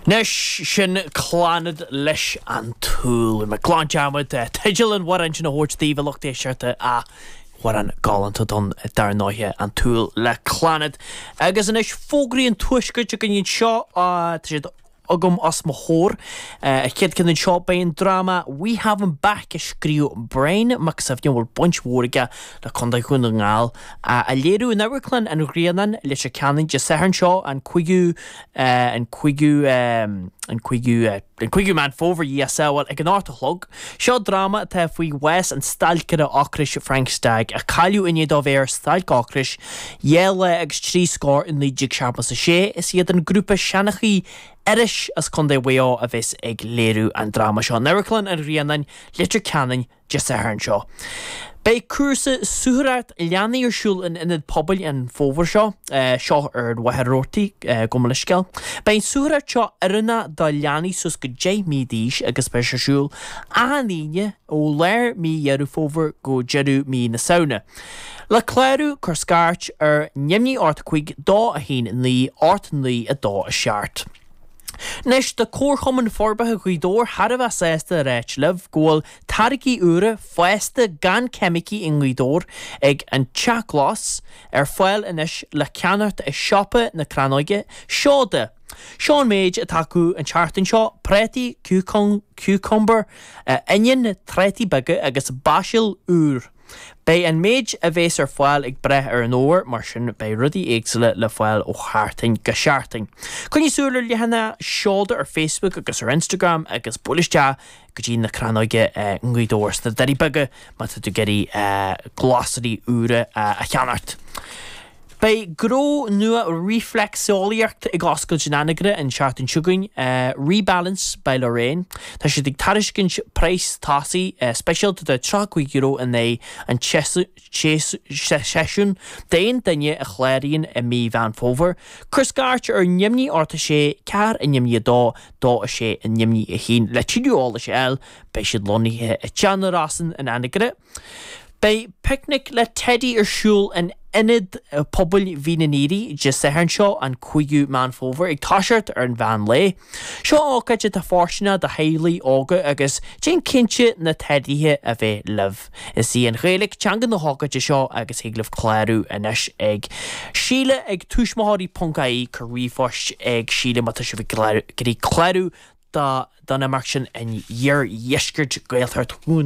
Anois, sin Clannad leis An tSúil. Bhí mé glan dearmad teideal an amhráin sin a thabhairt daoibh, a lucht éisteachta, ach amhrán galánta ann dar ndóighe, An tSúil le Clannad. Agus anois fógraí an tuaiscirt againn anseo, tá siad agam os mo chomhair. An chéad ceann anseo, beidh an dráma We Have Him Back a scríobh Brian Mac Suibhne, a bhfuil baint mhór aige le Contae Dhún na nGall, á léiriú in Amharclann an Ghrianáin, Leitir Ceanainn, Dé Sathairn seo, an 5ú an 5ú an 5ú an 5ú Meán Fómhair, a Dhia ár sábháil, ag an 8 a chlog. Seo dráma atá faoi bhás an stailceora ocrais Frank Stagg, a cailleadh i ndiaidh dó bheith ar stailc ocrais 2 lá agus 3 scór i 1976. Is iad an grúpa Seanchaí Iorrais as Contae Mhaigh Eo a bheas ag léiriú an dráma seo in Amharclann an Ghrianáin, Leitir Ceanainn, Dé Sathairn seo. Beidh cúrsa suathaireacht leanaí ar siúl in Ionad Pobail an fómhar seo, seo ar an Mhachaire Rabhartaigh, gabh mo leithscéal. Beidh an suathaireacht seo oiriúnach do leanaí suas go 10 mí d'aois agus beidh sé ar siúl achan Aoine ó lár mí Dheireadh Fómhair go deireadh mí na Samhna. Le clárú, cuir scairt ar neamhní 8 5 2 1 9 8 9 2 7. Anois, tá Comharchumann Forbartha Ghaoth Dobhair thar a bheith sásta a ráit libh go bhfuil táirgí úra, fásta gan ceimicí i nGaoth Dobhair ag An Teach Glas ar fáil anois le ceannacht i Siopa na Crannóige, Seoda. Seo an méid atá acu an tseachtain seo, prátaí, cucumber, oinniún, trátaí beaga agus basil úr. Beidh an méid a bhéas ar fáil ag brath ar an fhómhar, mar sin beidh rudaí éagsúla le fáil ó sheachtain go seachtain. Coinnigh súil ar leathanach Seoda ar Facebook agus ar Instagram agus buail isteach go dtí na Crannóige i nGaoth Dobhair sna Doirí Beaga má tá tú ag iarraidh glasraí úra a cheannacht. Beidh gnó nua rifléacseolaíocht ag oscailt in Anagaire an tseachtain seo chugainn, Rebalance by Lorraine. Tá siad ag tairiscint praghas tosaigh speisialta de €35 in aghaidh an tseisiúin d'aon duine a chláraíonn i mí Mheán Fómhair. Cuir scairt ar neamhní 8 6 4 neamhní 2 2 6 neamhní 1 le tuilleadh eolais a fháil. Beidh siad lonnaithe i dTeach na Rosann in Anagaire. Beidh Picnic le Teidí ar siúl in Ionad Pobail Mhín an Aoire Dé Sathairn seo, an 5ú Meán Fómhair, ag toiseacht ar an mheán lae. Seo ócáid atá fóirsteanach do theaghlaigh óga agus déan cinnte na teidithe a bheith libh. Is í an Ghaeilge teanga na hócáide seo agus thig libh clárú anois ag Síle ag tuismitheoirí ponc ie cuir ríomhphost ag Síle má tá sibh ag iarraidh clárú don imeacht sin in iardheisceart Gaeltacht Dhún.